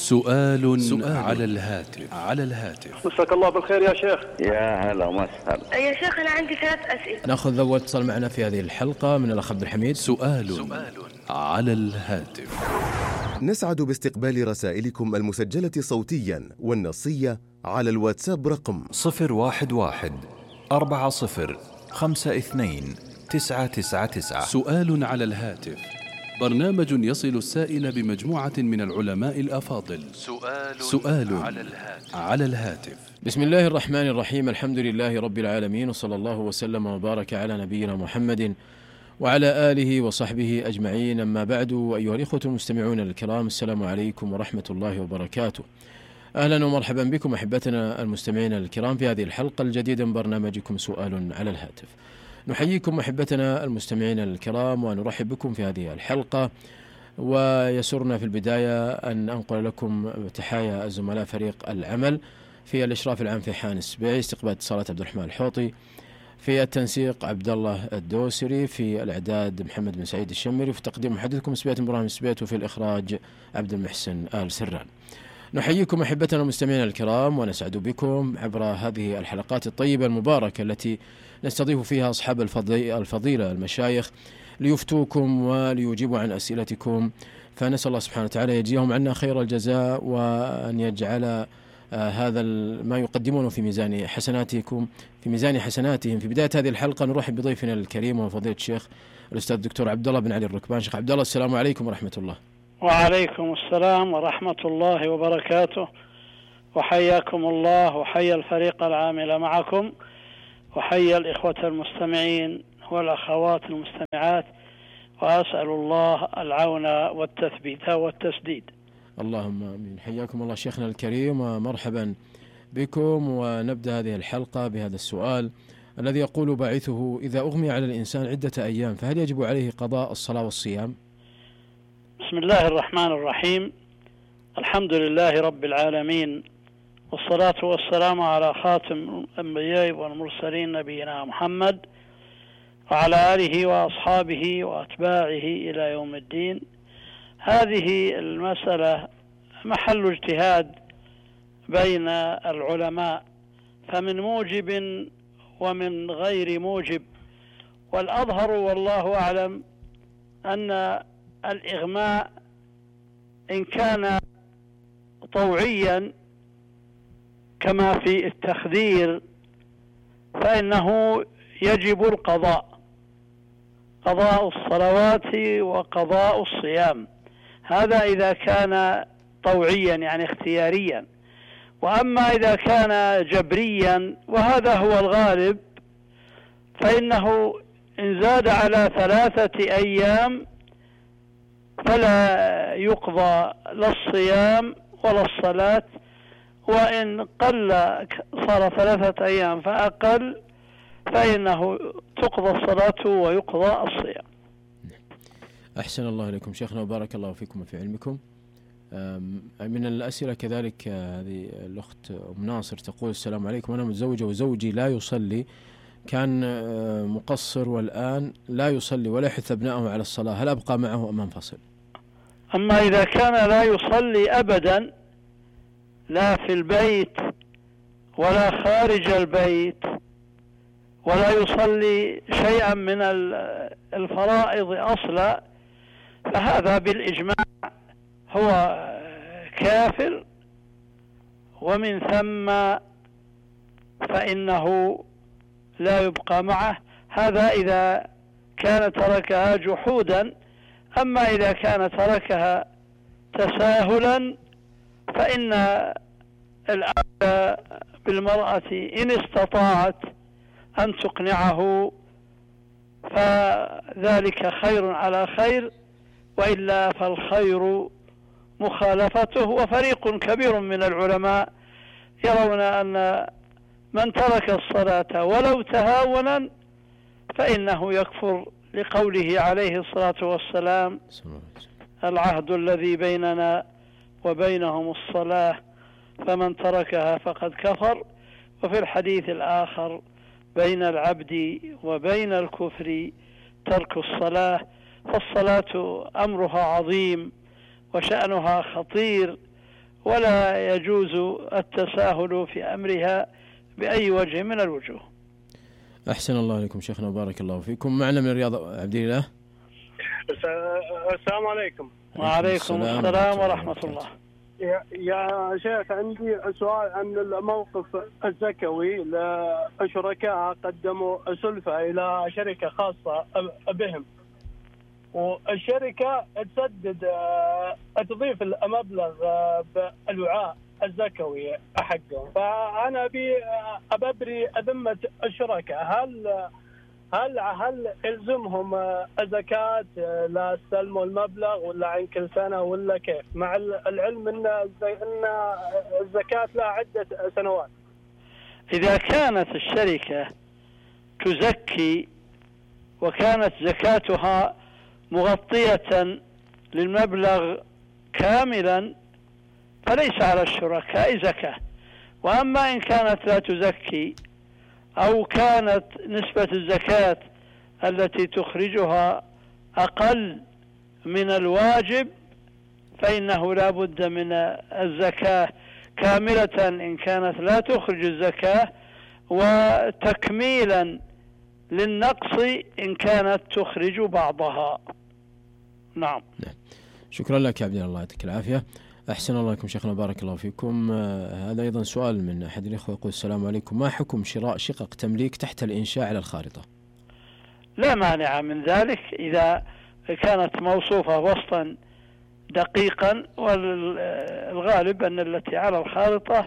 سؤال على الهاتف. مساك الله بالخير يا شيخ. يا هلا وسهلا يا شيخ أنا عندي 3 أسئلة. نأخذ أول اتصال معنا في هذه الحلقة من الأخ عبد الحميد. سؤال على الهاتف. نسعد باستقبال رسائلكم المسجلة صوتيا والنصية على الواتساب رقم 011-40-52-999. سؤال على الهاتف، برنامج يصل السائل بمجموعة من العلماء الأفاضل. سؤال على الهاتف. بسم الله الرحمن الرحيم، الحمد لله رب العالمين، وصلى الله وسلم وبارك على نبينا محمد وعلى آله وصحبه أجمعين، أما بعد. أيها الإخوة المستمعون الكرام، السلام عليكم ورحمة الله وبركاته. أهلا ومرحبا بكم أحبتنا المستمعين الكرام في هذه الحلقة الجديدة من برنامجكم سؤال على الهاتف. نحييكم أحبتنا المستمعين الكرام ونرحب بكم في هذه الحلقة، ويسرنا في البداية أن أنقل لكم تحايا الزملاء فريق العمل في الإشراف العام في حان السبيعي، استقبال اتصالات عبد الرحمن الحوطي، في التنسيق عبد الله الدوسري، في الإعداد محمد بن سعيد الشمري، في تقديم محدثكم سبيت إبراهيم سبيت، وفي الإخراج عبد المحسن آل سران. نحييكم أحبتنا المستمعين الكرام ونسعد بكم عبر هذه الحلقات الطيبة المباركة التي نستضيف فيها أصحاب الفضيلة المشايخ ليفتوكم وليجيبوا عن أسئلتكم، فنسأل الله سبحانه وتعالى يجزيهم عنا خير الجزاء، وأن يجعل هذا ما يقدمونه في ميزان حسناتكم، في ميزان حسناتهم. في بداية هذه الحلقة نرحب بضيفنا الكريم وفضيلة الشيخ الأستاذ الدكتور عبد الله بن علي الركبان. شيخ عبد الله، السلام عليكم ورحمة الله. وعليكم السلام ورحمة الله وبركاته، وحياكم الله وحيا الفريق العامل معكم، وحيا الإخوة المستمعين والأخوات المستمعات، وأسأل الله العون والتثبيت والتسديد. اللهم آمين. حياكم الله شيخنا الكريم ومرحبا بكم. ونبدأ هذه الحلقة بهذا السؤال الذي يقول باعثه: إذا أغمي على الإنسان عدة أيام فهل يجب عليه قضاء الصلاة والصيام؟ بسم الله الرحمن الرحيم، الحمد لله رب العالمين، والصلاة والسلام على خاتم الأنبياء والمرسلين نبينا محمد وعلى آله وأصحابه وأتباعه إلى يوم الدين. هذه المسألة محل اجتهاد بين العلماء، فمن موجب ومن غير موجب، والأظهر والله أعلم أن الإغماء إن كان طوعيا كما في التخدير فإنه يجب القضاء، قضاء الصلوات وقضاء الصيام، هذا إذا كان طوعيا يعني اختياريا. وأما إذا كان جبريا وهذا هو الغالب فإنه إن زاد على 3 أيام فلا يقضى لا الصيام ولا الصلاة، وإن قل صار 3 أيام فأقل فإنه تقضى الصلاة ويقضى الصيام. أحسن الله إليكم شيخنا وبارك الله فيكم وفي علمكم. من الأسئلة كذلك هذه الأخت أم ناصر تقول: السلام عليكم، أنا متزوجة وزوجي لا يصلي، كان مقصر والآن لا يصلي ولا يحث أبنائه على الصلاة، هل أبقى معه أم أنفصل؟ أما إذا كان لا يصلي أبدا لا في البيت ولا خارج البيت ولا يصلي شيئا من الفرائض أصلا، فهذا بالإجماع هو كافر، ومن ثم فإنه لا يبقى معه، هذا إذا كان تركها جحودا. أما إذا كان تركها تساهلا فإن الأولى بالمرأة إن استطاعت أن تقنعه فذلك خير على خير، وإلا فالخير مخالفته. وفريق كبير من العلماء يرون أن من ترك الصلاة ولو تهاونا فإنه يكفر، لقوله عليه الصلاة والسلام: العهد الذي بيننا وبينهم الصلاة فمن تركها فقد كفر. وفي الحديث الآخر: بين العبد وبين الكفر ترك الصلاة. فالصلاة أمرها عظيم وشأنها خطير، ولا يجوز التساهل في أمرها بأي وجه من الوجوه. أحسن الله عليكم شيخنا وبارك الله فيكم. معنا من الرياض عبد الله. السلام عليكم. وعليكم السلام ورحمة الله. يا شيخ عندي سؤال عن الموقف الزكوي لشركاء قدموا سلفة إلى شركة خاصة بهم، والشركة تضيف المبلغ بالوعاء الزكوي حقهم، فأنا أبري ذمة الشركاء، هل يلزمهم زكاة لا استلموا المبلغ ولا عن كل سنة ولا كيف، مع العلم أن الزكاة لها عدة سنوات؟ إذا كانت الشركة تزكي وكانت زكاتها مغطية للمبلغ كاملا فليس على الشركاء زكاة. وأما إن كانت لا تزكي أو كانت نسبة الزكاة التي تخرجها أقل من الواجب فإنه لا بد من الزكاة كاملة إن كانت لا تخرج الزكاة، وتكميلا للنقص إن كانت تخرج بعضها. نعم. شكرا لك يا عبد الله، يعطيك العافية. أحسن الله عليكم شيخنا بارك الله فيكم. هذا أيضا سؤال من أحد الإخوة يقول: السلام عليكم، ما حكم شراء شقق تمليك تحت الإنشاء على الخارطة؟ لا مانع من ذلك إذا كانت موصوفة وصفا دقيقا، والغالب أن التي على الخارطة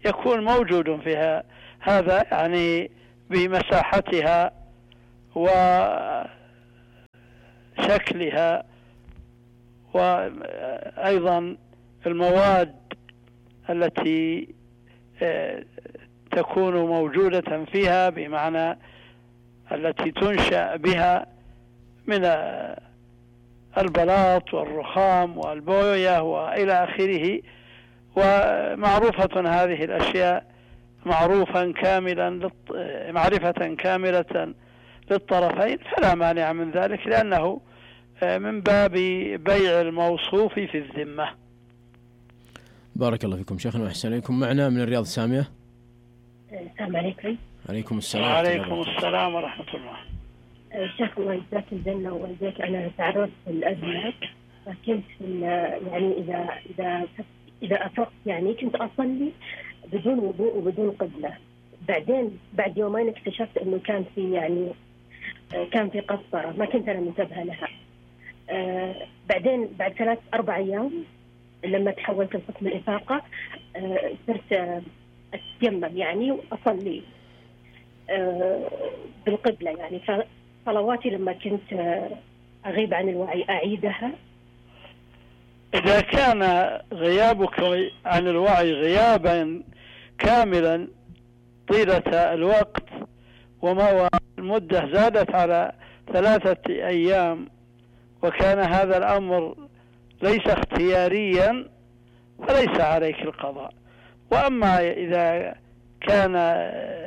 يكون موجود فيها هذا، يعني بمساحتها وشكلها وأيضا المواد التي تكون موجودة فيها، بمعنى التي تنشأ بها من البلاط والرخام والبوية وإلى آخره، ومعروفة هذه الأشياء معرفة كاملة للطرفين، فلا مانع من ذلك، لأنه من باب بيع الموصوف في الذمة. بارك الله فيكم شيخنا وأحسن إليكم. معنا من الرياض سامية. السلام عليكم. عليكم السلام. وعليكم السلام ورحمة الله. شيخ الله يجزاك الجنة ويجزاك. أنا تعرضت للأزمة، فكنت يعني إذا أفقت يعني كنت أصلي بدون وضوء وبدون قبلة. بعدين بعد يومين اكتشفت إنه كان في قسطرة، ما كنت أنا منتبهة لها. بعدين بعد 3-4 أيام لما تحولت لقسم الإفاقة صرت أتيمم يعني وأصلي بالقبلة، يعني صلواتي لما كنت أغيب عن الوعي أعيدها. إذا كان غيابك عن الوعي غيابا كاملا طيلة الوقت المدة زادت على 3 أيام وكان هذا الأمر ليس اختياريا فليس عليك القضاء. وأما إذا كان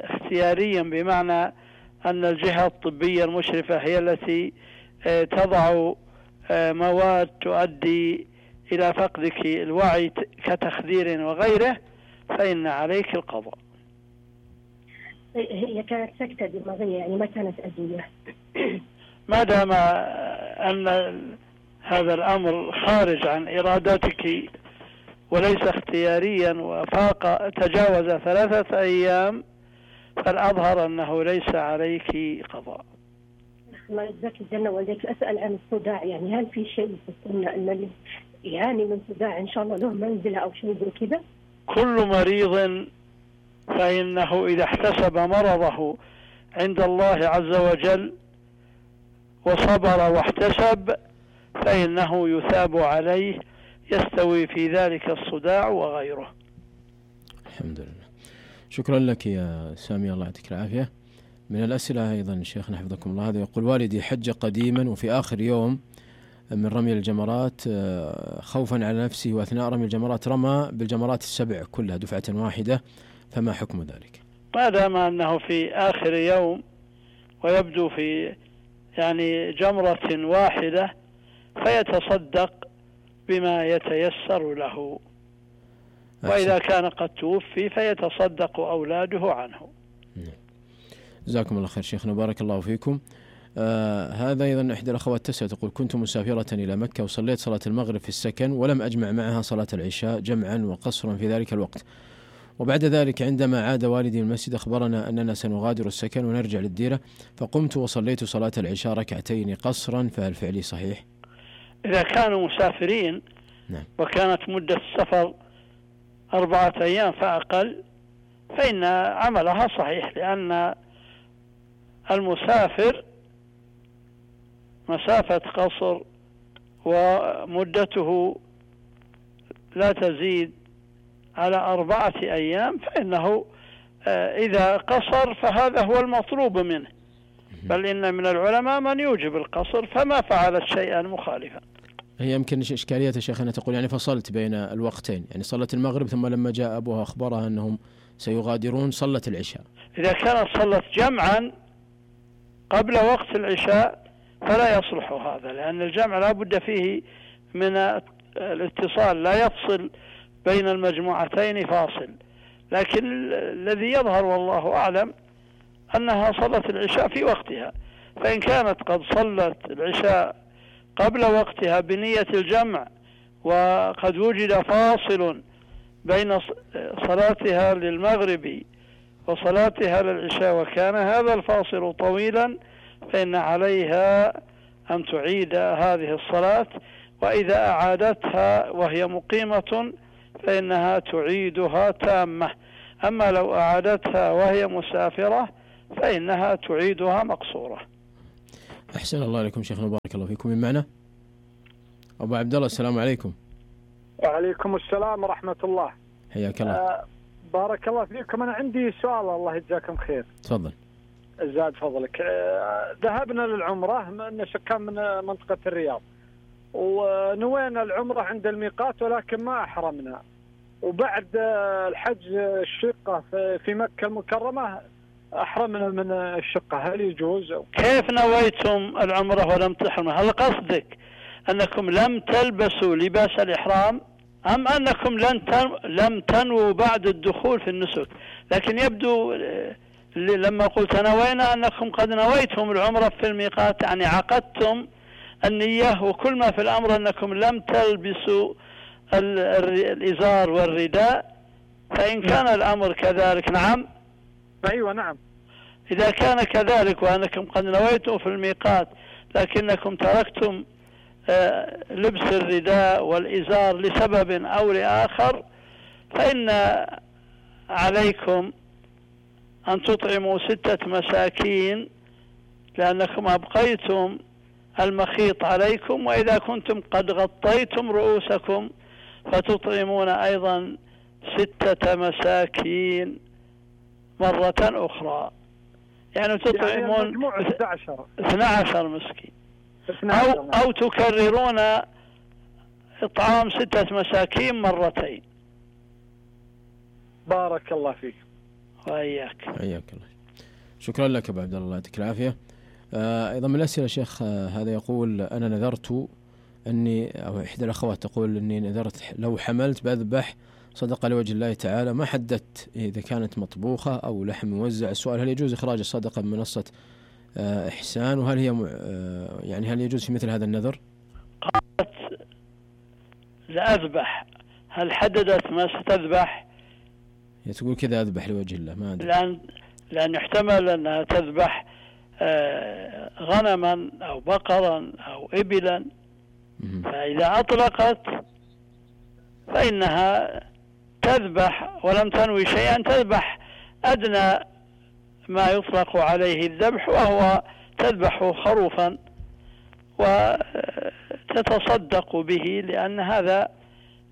اختياريا بمعنى أن الجهة الطبية المشرفة هي التي تضع مواد تؤدي إلى فقدك الوعي كتخدير وغيره فإن عليك القضاء. هي كانت سكتة دماغية يعني ما كانت أذية. ما دام أن هذا الأمر خارج عن إرادتك وليس اختياريا وفاق تجاوز 3 أيام فالأظهر أنه ليس عليك قضاء. الله يجزاك الجنة والديك. أسأل عن الصداع، يعني هل في شيء في السنة أن اللي يعاني من صداع إن شاء الله له منزلة أو شيء زي كذا؟ كل مريض فإنه إذا احتسب مرضه عند الله عز وجل وصبر واحتسب فإنه يثاب عليه، يستوي في ذلك الصداع وغيره. الحمد لله. شكرا لك يا سامي، الله يعطيك العافية. من الأسئلة أيضا شيخنا حفظكم الله، هذا يقول: والدي حج قديما وفي آخر يوم من رمي الجمرات خوفا على نفسه وأثناء رمي الجمرات رمى بالجمرات ال7 كلها دفعة واحدة، فما حكم ذلك؟ ما دام أنه في آخر يوم ويبدو في يعني جمرة واحدة فيتصدق بما يتيسر له. وإذا كان قد توفي فيتصدق أولاده عنه. جزاكم الله خير شيخنا، بارك الله فيكم. هذا أيضا إحدى الأخوات تسأل تقول: كنت مسافرة إلى مكة وصليت صلاة المغرب في السكن ولم أجمع معها صلاة العشاء جمعا وقصرا في ذلك الوقت، وبعد ذلك عندما عاد والدي من المسجد أخبرنا أننا سنغادر السكن ونرجع للديرة، فقمت وصليت صلاة العشاء ركعتين قصرا، فهل فعلي صحيح؟ إذا كانوا مسافرين نعم. وكانت مدة السفر 4 أيام فأقل فإن عملها صحيح، لأن المسافر مسافة قصر ومدته لا تزيد على 4 أيام، فإنه إذا قصر فهذا هو المطلوب منه، بل إن من العلماء من يوجب القصر فما فعلت شيئا مخالفا. هي يمكن إشكالية شيخنا تقول يعني فصلت بين الوقتين، يعني صلت المغرب ثم لما جاء أبوها أخبرها أنهم سيغادرون صلت العشاء. إذا كانت صلت جمعا قبل وقت العشاء فلا يصلح هذا، لأن الجمع لا بد فيه من الاتصال، لا يفصل بين المجموعتين فاصل. لكن الذي يظهر والله أعلم أنها صلت العشاء في وقتها، فإن كانت قد صلت العشاء قبل وقتها بنية الجمع وقد وجد فاصل بين صلاتها للمغرب وصلاتها للعشاء وكان هذا الفاصل طويلا، فإن عليها أن تعيد هذه الصلاة، وإذا أعادتها وهي مقيمة فإنها تعيدها تامة. أما لو أعادتها وهي مسافرة فإنها تعيدها مقصورة. أحسن الله عليكم شيخنا، بارك الله فيكم. من معنا أبو عبد الله، السلام عليكم. وعليكم السلام ورحمة الله. حياك الله. بارك الله فيكم. أنا عندي سؤال، الله يجزاكم خير. تفضل. زاد فضلك. ذهبنا للعمرة من سكان من منطقة الرياض، ونوينا العمرة عند الميقات ولكن ما أحرمنا، وبعد الحج الشقة في مكة المكرمة أحرمنا من الشقة، هل يجوز؟ كيف نويتم العمرة ولم تحرموا؟ هل قصدك أنكم لم تلبسوا لباس الإحرام أم أنكم لم تنووا بعد الدخول في النسك؟ لكن يبدو لما قلت نوينا أنكم قد نويتم العمرة في الميقات، يعني عقدتم النية، وكل ما في الأمر أنكم لم تلبسوا الإزار والرداء. فإن كان الأمر كذلك نعم. أيوة نعم. إذا كان كذلك وأنكم قد نويتم في الميقات لكنكم تركتم لبس الرداء والإزار لسبب أو لآخر، فإن عليكم أن تطعموا 6 مساكين، لأنكم أبقيتم المخيط عليكم، وإذا كنتم قد غطيتم رؤوسكم فتطعمون أيضا 6 مساكين مرة أخرى، يعني تطعمون 12 مسكين، أو تكررون إطعام 6 مساكين مرتين. بارك الله فيك. وإياك. حياك الله. شكرا لك أبو عبد الله، يعطيك العافية. أيضا من الأسئلة شيخ هذا يقول: أنا نذرت أني، أو إحدى الأخوات تقول أني نذرت لو حملت بذبح صدقة لوجه الله تعالى، ما حددت إذا كانت مطبوخة أو لحم موزع. السؤال: هل يجوز إخراج الصدقة من منصة إحسان؟ وهل هي يعني هل يجوز في مثل هذا النذر؟ قالت لأذبح، هل حددت ما ستذبح؟ تقول كذا أذبح لوجه الله، ما أدري. لأن يحتمل أنها تذبح غنما أو بقرا أو إبلا، فإذا أطلقت فإنها تذبح ولم تنوي شيئا، تذبح أدنى ما يطلق عليه الذبح، وهو تذبح خروفا وتتصدق به، لأن هذا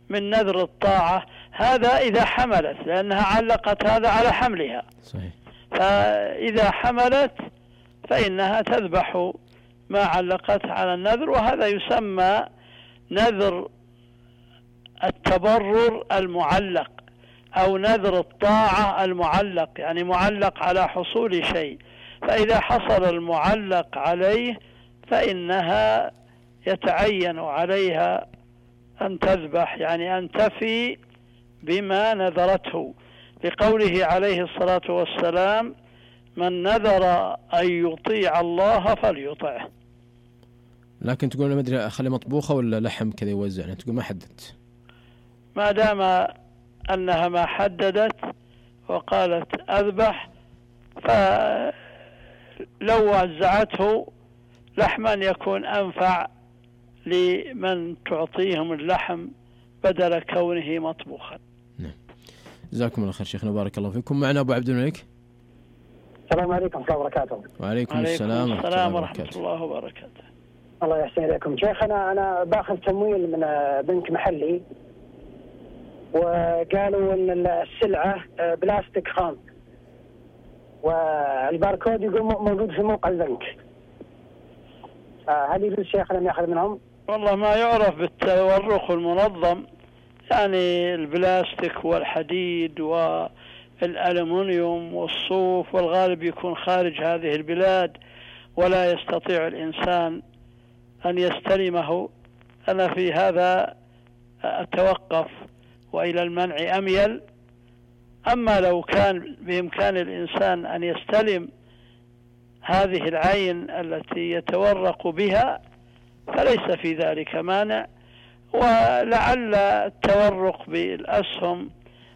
من نذر الطاعة. هذا إذا حملت، لأنها علقت هذا على حملها. صحيح. فإذا حملت فإنها تذبح ما علقت على النذر، وهذا يسمى نذر التبرر المعلق أو نذر الطاعة المعلق، يعني معلق على حصول شيء، فإذا حصل المعلق عليه فإنها يتعين عليها أن تذبح، يعني أن تفي بما نذرته، لقوله عليه الصلاة والسلام: من نذر أن يطيع الله فليطعه. لكن تقول ما أدري أخلي مطبوخة ولا لحم كذا يوزع، يعني تقول ما حددت. ما دام أنها ما حددت وقالت أذبح، فلو وزعته لحما يكون أنفع لمن تعطيهم اللحم بدل كونه مطبوخا. نعم. جزاكم الله خير شيخنا، بارك الله فيكم. معنا أبو عبد الملك. السلام عليكم ورحمة الله وبركاته. وعليكم السلام ورحمة الله وبركاته. الله يحسن إليكم شيخ. أنا باخذ تمويل من بنك محلي، وقالوا إن السلعة بلاستيك خام، والباركود يقول موجود في موقع البنك. هل يجوز شيخنا أن يأخذ منهم؟ والله ما يعرف بالتورق المنظم، يعني البلاستيك والحديد والألمنيوم والصوف، والغالب يكون خارج هذه البلاد ولا يستطيع الإنسان أن يستلمه. أنا في هذا أتوقف وإلى المنع أميل. أما لو كان بإمكان الإنسان أن يستلم هذه العين التي يتورق بها فليس في ذلك مانع، ولعل التورق بالأسهم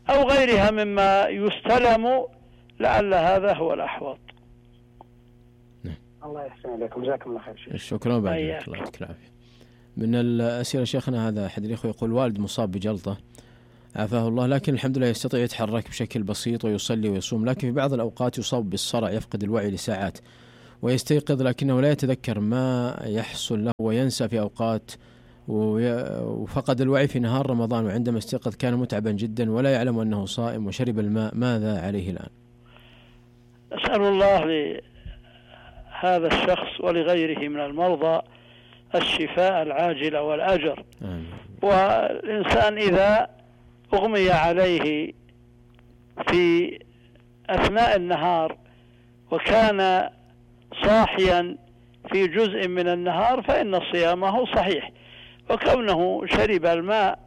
أو غيرها مما يستلم لعل هذا هو الأحوط. الله يحسن عليكم، جزاكم الله خير. شكرا بعد الله يعطيك العافية. من الأسئلة شيخنا هذا أحد الإخوة يقول: والد مصاب بجلطة عافاه الله، لكن الحمد لله يستطيع يتحرك بشكل بسيط ويصلي ويصوم، لكن في بعض الأوقات يصاب بالصرع، يفقد الوعي لساعات ويستيقظ لكنه لا يتذكر ما يحصل له وينسى في أوقات، وفقد الوعي في نهار رمضان، وعندما استيقظ كان متعبا جدا ولا يعلم أنه صائم وشرب الماء، ماذا عليه الآن؟ أسأل الله لهذا الشخص ولغيره من المرضى الشفاء العاجل والأجر. آمين. والإنسان إذا أغمي عليه في أثناء النهار وكان صاحيا في جزء من النهار فإن صيامه صحيح، وكونه شرب الماء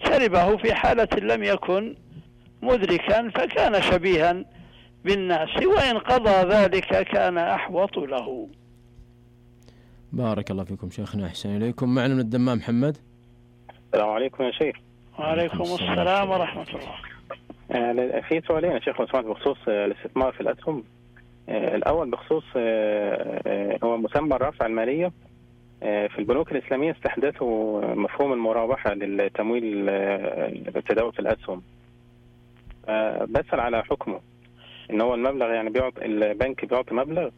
شربه في حالة لم يكن مدركا فكان شبيها بالناس، وإن قضى ذلك كان أحوط له. بارك الله فيكم شيخنا، أحسن إليكم. معنا من الدمام محمد. السلام عليكم يا شيخ. وعليكم السلام ورحمة الله. في سؤالين يا شيخ لو سمحت بخصوص الاستثمار في الأسهم. الأول بخصوص هو مسمى الرافعة المالية. في البنوك الإسلامية استحدثوا مفهوم المرابحة للتمويل التداول في الأسهم. بسأل على حكمه، إن هو المبلغ يعني البنك بيعطي مبلغ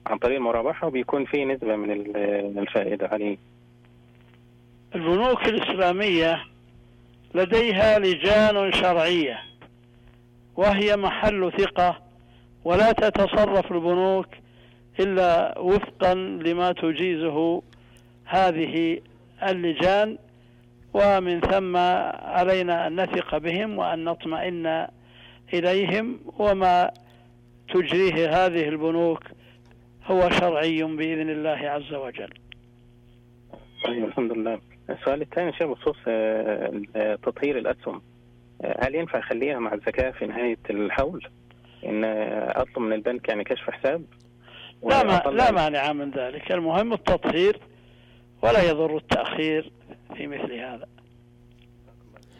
عن طريق المرابحة وبيكون فيه نسبة من الفائدة عليه. البنوك الإسلامية لديها لجان شرعية وهي محل ثقة، ولا تتصرف البنوك إلا وفقا لما تجيزه هذه اللجان، ومن ثم علينا أن نثق بهم وأن نطمئن إليهم، وما تجريه هذه البنوك هو شرعي بإذن الله عز وجل. طيب الحمد لله. السؤال الثاني شيء بخصوص تطهير الأسهم، هل ينفع أخليها مع الزكاة في نهاية الحول، إن أطلب من البنك يعني كشف حساب؟ لا مانع من ذلك، المهم التطهير ولا يضر التأخير في مثل هذا.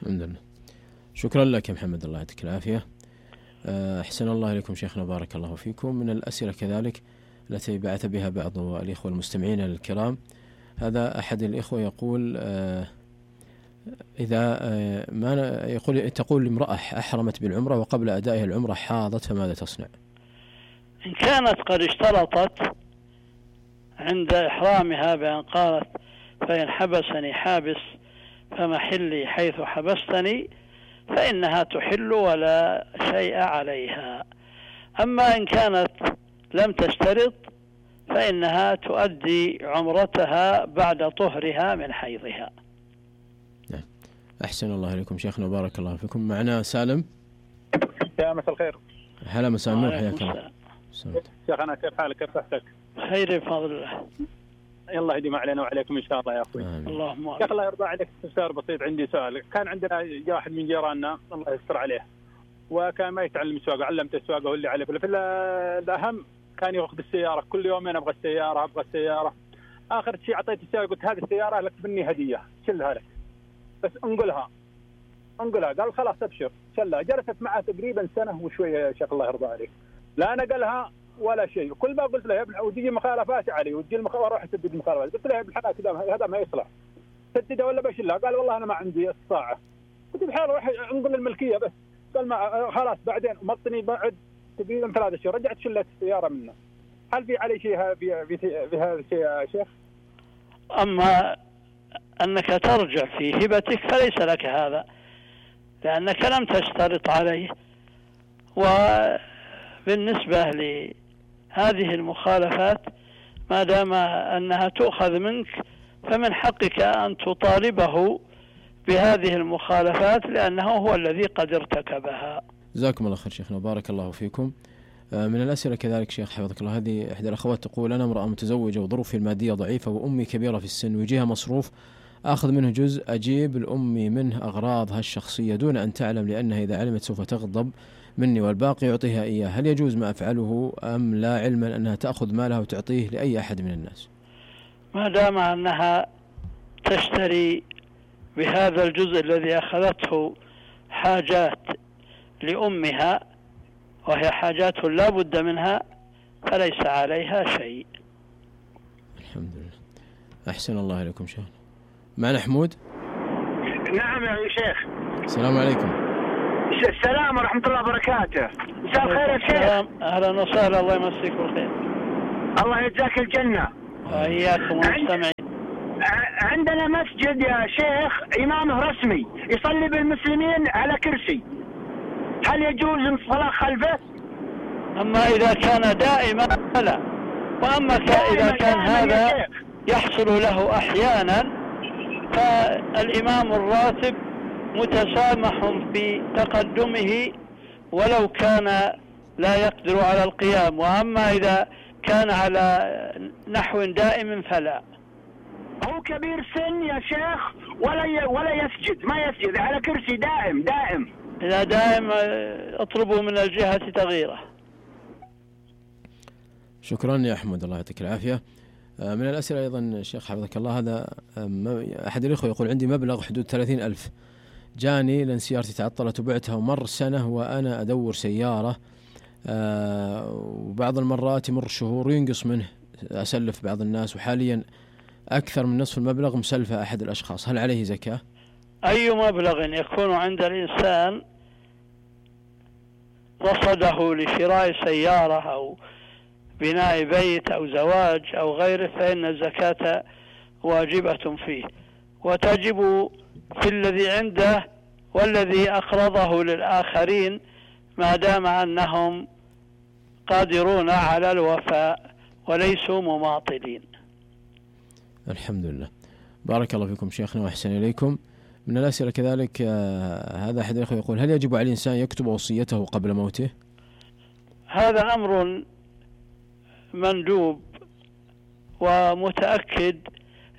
الحمد لله. شكرا لك يا محمد، الله يعطيك العافية. أحسن الله إليكم شيخنا، بارك الله فيكم. من الأسئلة كذلك التي بعث بها بعض الإخوة المستمعين الكرام، هذا أحد الإخوة يقول: إذا ما تقول امرأة أحرمت بالعمرة وقبل أدائها العمرة حاضت فماذا تصنع؟ إن كانت قد اشترطت عند إحرامها بأن قالت: فإن حبسني حابس فمحلي حيث حبستني، فإنها تحل ولا شيء عليها. أما إن كانت لم تشترط فإنها تؤدي عمرتها بعد طهرها من حيضها. أحسن الله إليكم شيخنا، بارك الله فيكم. معنا سالم. يا مساء الخير. هلا مساء النور، حياك الله. شيخ أنا كيف حالك، كيف صحتك؟ خير بفضل الله. الله يديم علينا وعليكم إن شاء الله يا أخوي. اللهم يا أخي الله يرضى عليك، استفسار بسيط عندي سؤال. كان عندنا واحد من جيراننا الله يستر عليه وكان ما يتعلم السواقة، علمته السواقة هو اللي عليه، في الأهم كان يأخذ السيارة كل يومين، أبغى السيارة. آخر شيء أعطيته السيارة، قلت هذه السيارة لك مني هدية شلها لك بس انقلها. قال خلاص أبشر شلها. جلست معه تقريبا سنة وشوية يا شيخ الله يرضى عليك، لا نقلها ولا شيء. كل ما قلت له يا ابن وتجي مخالفات علي وتجي واروح اسدد مخالفات، قلت له يا ابن الحلال كذا هذا ما يصلح، سدده ولا بشلها. قال والله أنا ما عندي استطاعة. قلت بحال روح انقل الملكية بس. قال ما خلاص. بعدين مطني بعد تقريبا 3 شهور رجعت شلت السيارة منه. هل في علي شيء في هذا الشيء يا شيخ؟ أما أنك ترجع في هبتك فليس لك هذا، لأنك لم تشترط عليه. وبالنسبة لهذه المخالفات ما دام أنها تؤخذ منك فمن حقك أن تطالبه بهذه المخالفات لأنه هو الذي قد ارتكبها. جزاكم الله خير شيخنا، بارك الله فيكم. من الأسئلة كذلك شيخ حفظك الله، هذه إحدى الأخوات تقول: أنا امرأة متزوجة وظروفي المادية ضعيفة وأمي كبيرة في السن ويجيها مصروف آخذ منه جزء أجيب لأمي منه أغراضها الشخصية دون أن تعلم، لأنها إذا علمت سوف تغضب مني والباقي يعطيها إياه. هل يجوز ما أفعله أم لا، علما أنها تأخذ مالها وتعطيه لأي أحد من الناس؟ ما دام أنها تشتري بهذا الجزء الذي أخذته حاجات لأمها وهي حاجات لا بد منها فليس عليها شيء. الحمد لله. أحسن الله إليكم شيخ. معنا حمود. نعم يا شيخ. السلام عليكم. السلام ورحمة الله وبركاته. مساء الخير يا شيخ. أهلا وسهلا، الله يمسيك بالخير. الله يجزاك الجنة. وإياكم المستمعين. عندنا مسجد يا شيخ إمامه رسمي يصلي بالمسلمين على كرسي، هل يجوز الصلاة خلفه؟ أما إذا كان دائما فلا، وأما إذا كان هذا يحصل له أحيانا فالإمام الراتب متسامح بتقدمه ولو كان لا يقدر على القيام، وأما إذا كان على نحو دائم فلا. هو كبير سن يا شيخ ولا يسجد، ما يسجد على كرسي دائم. إذا دائم اطلبوا من الجهة تغييره. شكرا يا أحمد، الله يعطيك العافية. من الأسئلة أيضا شيخ حفظك الله، هذا أحد الإخوة يقول: عندي مبلغ حدود 30,000 جاني لأن سيارتي تعطلت وبعتها ومر سنة وأنا أدور سيارة، وبعض المرات يمر شهور وينقص منه أسلف بعض الناس، وحاليا أكثر من نصف المبلغ مسلفة أحد الأشخاص، هل عليه زكاة؟ أي مبلغ يكون عند الإنسان رصده لشراء سيارة أو بناء بيت أو زواج أو غيره فإن الزكاة واجبة فيه، وتجب في الذي عنده والذي أقرضه للآخرين ما دام أنهم قادرون على الوفاء وليسوا مماطلين. الحمد لله، بارك الله فيكم شيخنا وأحسن إليكم. من الأسئلة كذلك هذا أحد الأخوة يقول: هل يجب على الإنسان يكتب وصيته قبل موته؟ هذا أمر مندوب ومتأكد.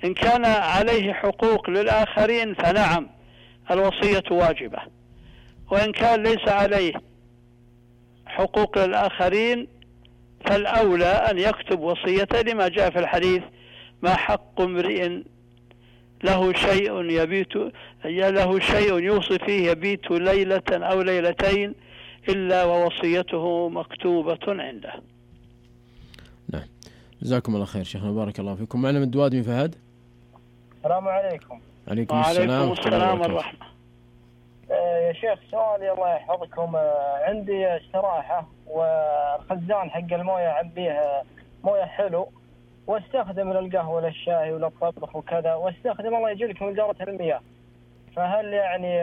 إن كان عليه حقوق للآخرين فنعم الوصية واجبة، وإن كان ليس عليه حقوق للآخرين فالأولى أن يكتب وصيته لما جاء في الحديث: ما حق امرئ له شيء يوصي فيه يبيت ليلة أو ليلتين إلا ووصيته مكتوبة عنده. نعم، جزاكم الله خير شيخنا، بارك الله فيكم. معنا من دواد فهد. السلام عليكم. عليكم السلام والرحمة. يا شيخ سؤالي الله يحفظكم، عندي استراحة والخزان حق المويه أعبيه مويه حلو واستخدم للقهوة للشاي وللطبخ وكذا، واستخدم الله يجيلك من جارة المياه، فهل يعني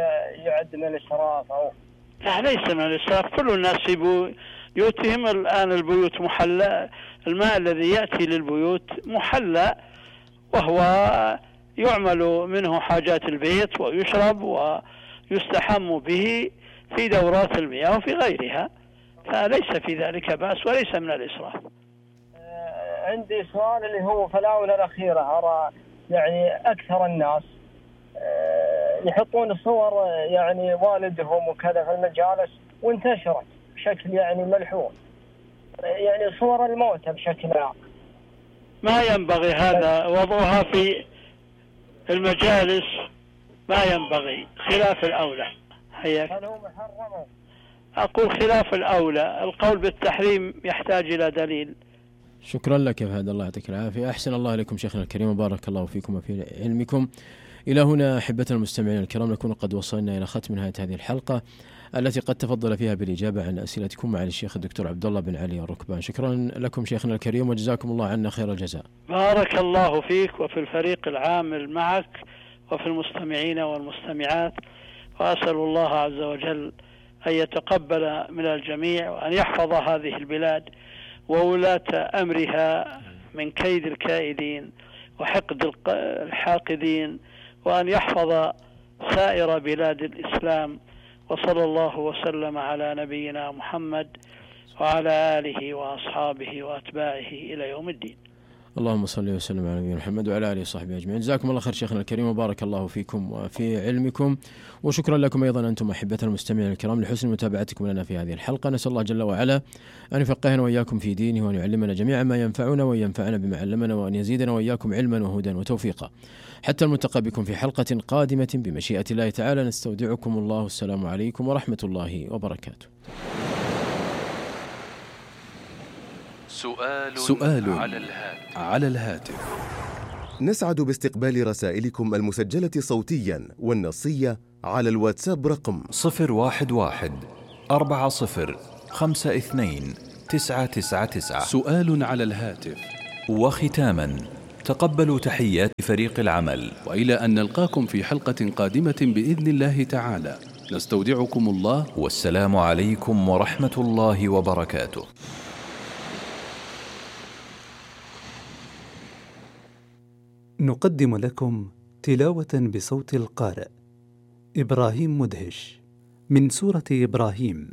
يعد من الإسراف أو؟ لا، ليس من الإسراف. كل الناس بيوتهم الآن البيوت محلى، الماء الذي يأتي للبيوت محلى وهو يعمل منه حاجات البيت ويشرب ويستحم به في دورات المياه وفي غيرها، فليس في ذلك بأس وليس من الإسراف. عندي سؤال اللي هو في الآونة الأخيرة أرى يعني أكثر الناس يحطون صور يعني والدهم وكذا في المجالس، وانتشرت بشكل يعني ملحوظ، يعني صور الموتى بشكل عام. ما ينبغي هذا وضعها في المجالس، ما ينبغي، خلاف الأولى. حياك. هل هو محرم؟ أقول خلاف الأولى، القول بالتحريم يحتاج إلى دليل. شكرا لك يا فهد، الله يعطيك العافية. أحسن الله إليكم شيخنا الكريم وبارك الله فيكم وفي علمكم. إلى هنا أحبتنا المستمعين الكرام نكون قد وصلنا إلى ختم نهاية هذه الحلقة التي قد تفضل فيها بالإجابة عن أسئلتكم مع الشيخ الدكتور عبد الله بن علي الركبان. شكرا لكم شيخنا الكريم وجزاكم الله عنا خير الجزاء. بارك الله فيك وفي الفريق العامل معك وفي المستمعين والمستمعات، وأسأل الله عز وجل أن يتقبل من الجميع وأن يحفظ هذه البلاد وولاة أمرها من كيد الكائدين وحقد الحاقدين، وأن يحفظ سائر بلاد الإسلام. وصلى الله وسلم على نبينا محمد وعلى آله وأصحابه وأتباعه إلى يوم الدين. اللهم صل وسلم على نبينا محمد وعلى آله وصحبه أجمعين. جزاكم الله خير شيخنا الكريم وبارك الله فيكم وفي علمكم، وشكرا لكم أيضا أنتم أحبتنا المستمعين الكرام لحسن متابعتكم لنا في هذه الحلقة. نسأل الله جل وعلا أن يفقهنا وإياكم في دينه وأن يعلمنا جميعا ما ينفعنا وأن ينفعنا بما علمنا وأن يزيدنا وإياكم علما وهدى وتوفيقا. حتى الملتقى بكم في حلقة قادمة بمشيئة الله تعالى، نستودعكم الله. السلام عليكم ورحمة الله وبركاته. سؤال على الهاتف. نسعد باستقبال رسائلكم المسجلة صوتيا والنصية على الواتساب رقم 011-4052-999. سؤال على الهاتف. وختاما تقبلوا تحيات فريق العمل، وإلى أن نلقاكم في حلقة قادمة بإذن الله تعالى، نستودعكم الله، والسلام عليكم ورحمة الله وبركاته. نقدم لكم تلاوة بصوت القارئ إبراهيم مدهش من سورة إبراهيم